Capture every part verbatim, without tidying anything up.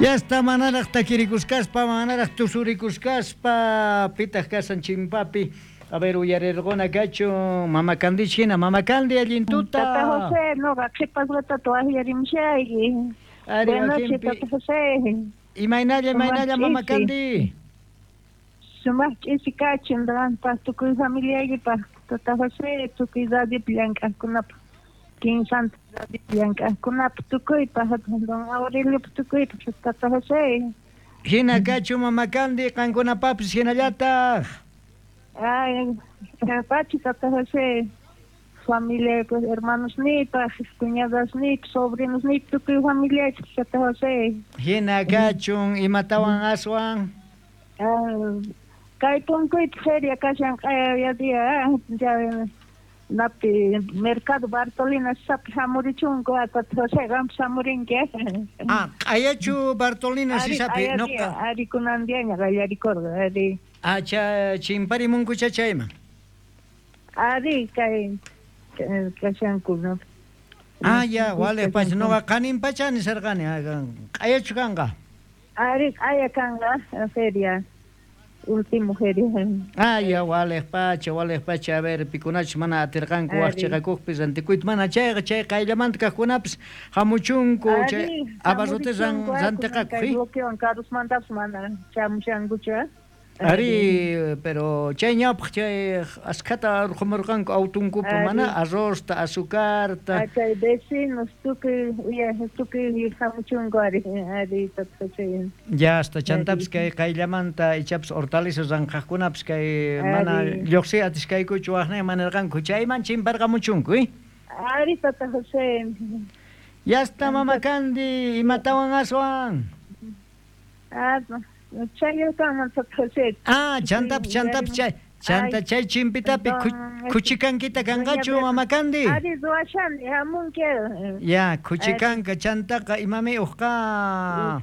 Ya está manaraj takirikusqaspa, manaraj tusurikusqaspa, pitaq kasan chimpapi. A ver, uyarirquna kachun, Mama Candich hina, Mama Candi allin tuta. Tata José, noqa qhipasqata waqyarimushayki. Ari, Buenas noches, wakinpi. Tata José. Imaynalla, imaynalla, Mama Ch'isi. Candi. Sumaq ch'isi kachun, qanpaq tukuy familiaykipaq, Tata José, tukuy radiopi llank'aqkunapaq, Kinsanta radiopi llank'aqkunapaq, tukuypaq, don Aureliopaq, tukuypaq, Tata José. Hina kachun, Mama Candi, qankunapapis hinallataq. Ay, pachi, Tata José, familia, pues, hermanos nipaq, cuñadas nipaq, sobrinos nipaq, tukuy familiaypaq, Tata José. Hina kachun, imatawan aswan. Ah, kay punkuypi feria kashan q'aya día, ya napi mercado Bartolina sapi hamurichunku, Tata José, qampas hamurinki. Ah, q'ayachu Bartolina Ari, sisapi, q'aya noqa. día, ari kunan diaña qallarikurqa, ari. Ah, cha chimparimunkucha chayman. Ari kay kashanku, no? Ah, ya, wale pacha, noqa qanin pacha nisarqani, q'ayachu kanqa. Ari q'aya kanqa feria, último feria. Ah, ya, wale pacha, wale pacha, a ver, pikunachus mana atirqanku Ari. waqchiqakuqpi rantikuyta, mana chayqa chay qayllamanta kaqkunapis hamuchunku, chay Ari, abarrote ran, hamurichunku, ah, rantiqakuq, kay eh? bloqueowan karusmantapas mana chamushankuchu, ah. Ari, pero chay ñawpaq chay askhata urqumurqanku autunkupi, Ari. mana arrozta, azucarta. Ah, chay vecinos tukuy uya tukuy hamuchunku ari, ari Tata José. Ya hasta chantapis Ari. kay qayllamanta ichapas hortalizas ranqaqkunapis kay mana Ari. lluqsiy atiskaykuchu waqnay manarqanku chayman chimparqamuchunku, eh? Ari Tata José. Ya está Mama Candi, imatawan aswan. Ah, chayllaman Tata José. Ah, chantapis, chantapis chay, chanta Ay, chay chimpitapi don, ku- kuchikankita kanqachu doña Mama Candi. Ari ruwashani hamunki. Ya, kuchikanka chantaqa imami uqqa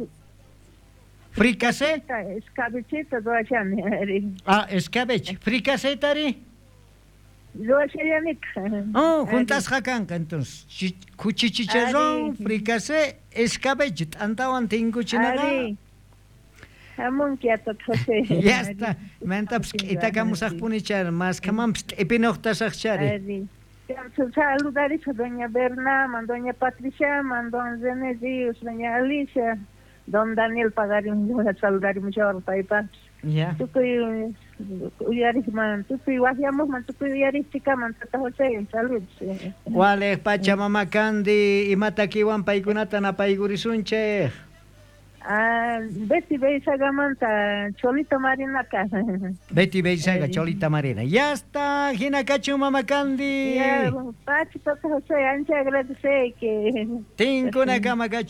fricasé. Escabechita ruwashani ari. Ah, escabeche, fricasé tari. Ruwashallanitaq. Oh, juntasqa kanqa entonces. Chi- Kuchichicharrón, Ari. fricasé, escabeche, t'antawan tinkuchinaqa. Ari. Hamunki Tata José. Ya está. Mantapis k'itakamusaqpuni chari, maskhamanpis t'ipinuqtasaq chari. Ari. Saludarisqa doña Bernaman, doña Patriciaman, don René Ríos, doña Alicia, don Daniel pagarim, saludarimushawar paypaqpis. Ya. Tukuy uyariqman, tukuy waqyamuqman, tukuy uyariqchikaman Tata José, saludos. Waliq pacha Mama Candi, imatakiwan paykunata napaykurisunchik. Ah, Betty Beizagamanta, Cholita Marinaka. Betty Beizaga, Ari. Cholita Marina. Ya está, hina kachun Mama Candi. Ya, pachi Tata José, ancha agradeceyki. Tinkunakama kachun.